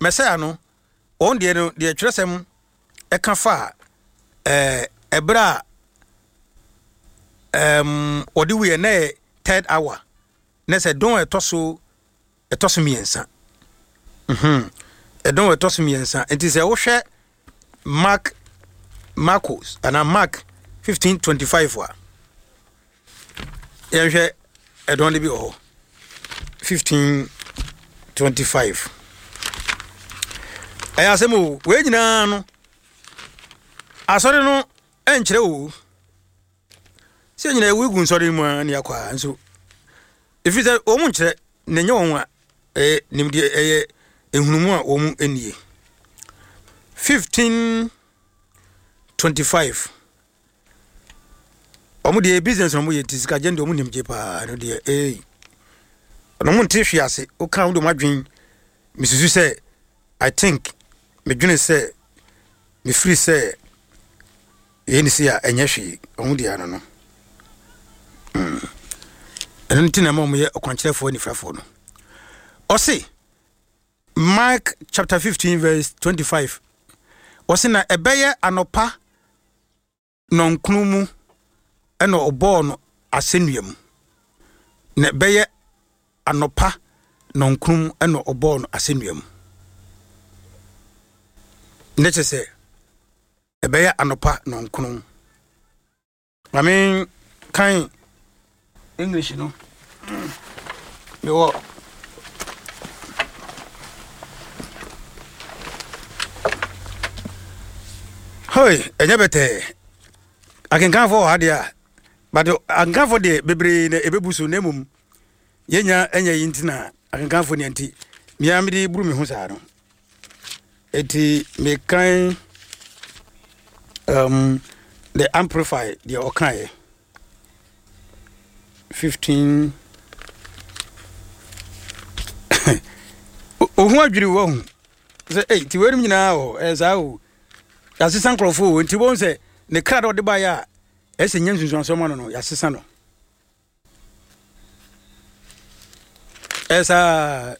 Mɛsaya no, wɔn deɛ no, deɛ twerɛsɛm ɛka fa ɛɛ ɛberɛ a ɛɛm wɔde wuiɛ na yɛ third hour, na sɛ dɔn a ɛtɔ so ɛtɔ so mmiɛnsa. Mhm. Ɛdɔn a ɛtɔ so mmiɛnsa. Nti sɛ wohwɛ Mark Marcos anaa Mark 15:25 a, yɛnhwɛ ɛdɔn no bi wɔ hɔ. 15:25. Ɛyɛ asɛm o, wei nyinaa no, asɔre no ɛnkyerɛ o. Sɛ nyinaa ewu gu nsɔre mu a ne akɔ a nso ɛfiri sɛ wɔn nkyerɛ na ɛnyɛ wɔn a ɛyɛ nimdeɛ ɛyɛ nhunumu a wɔn nnie. 1525 wɔn deɛ business na wɔn yɛ nti sika gye deɛ wɔn nim gye paa no deɛ ee na wɔn nte hwee ase woka wɔn de wɔn adwene mesusu sɛ I think medwene sɛ mefiri sɛ Yei ne sei a ɛnyɛ hwee, wɔn deɛ ano no. Mm. Ɛno nti na ɛma wɔyɛ ɔkwankyerɛfoɔ anifirafoɔ no. Ɔse, Mark chapter 15 verse 25. Ɔse na ɛbɛyɛ anɔpa nɔnkron mu ɛna ɔbɔɔ no asɛnnua mu. Na ɛbɛyɛ anɔpa nɔnkron mu ɛna ɔbɔɔ no asɛnnua mu. Ne kyɛ sɛ Ɛbɛyɛ anɔpa nnɔnkron. Ma menkan English no. Mewɔ Hoi, ɛnyɛ bɛtɛɛ. Akenkanfoɔ wɔ ha deɛ a, but akenkanfoɔ deɛ bebree na ɛbɛbu so na mmom yɛnya ɛnyɛ yi nti na akenkanfoɔ nea nti mea mede buru me ho saa no. Eti mekan um, the amplify deɛ ɔkaeɛ 15 ohun adwiri wɔ ho sɛ ei ti weinom nyinaa wɔ ɛyɛ saa o yɛasesa nkurɔfoɔ o nti wɔn sɛ ne kra dɛ ɔde baeɛ a ɛsɛ nya nsunsuansoɔ ma no no yɛasesa no ɛyɛ saa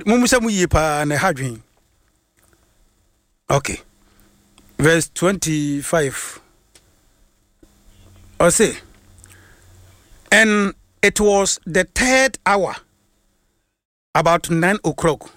Mommisa mu yie paa na ɛha adwene. Okay. Verse 25. Ɔse, and it was the third hour, about 9 o'clock.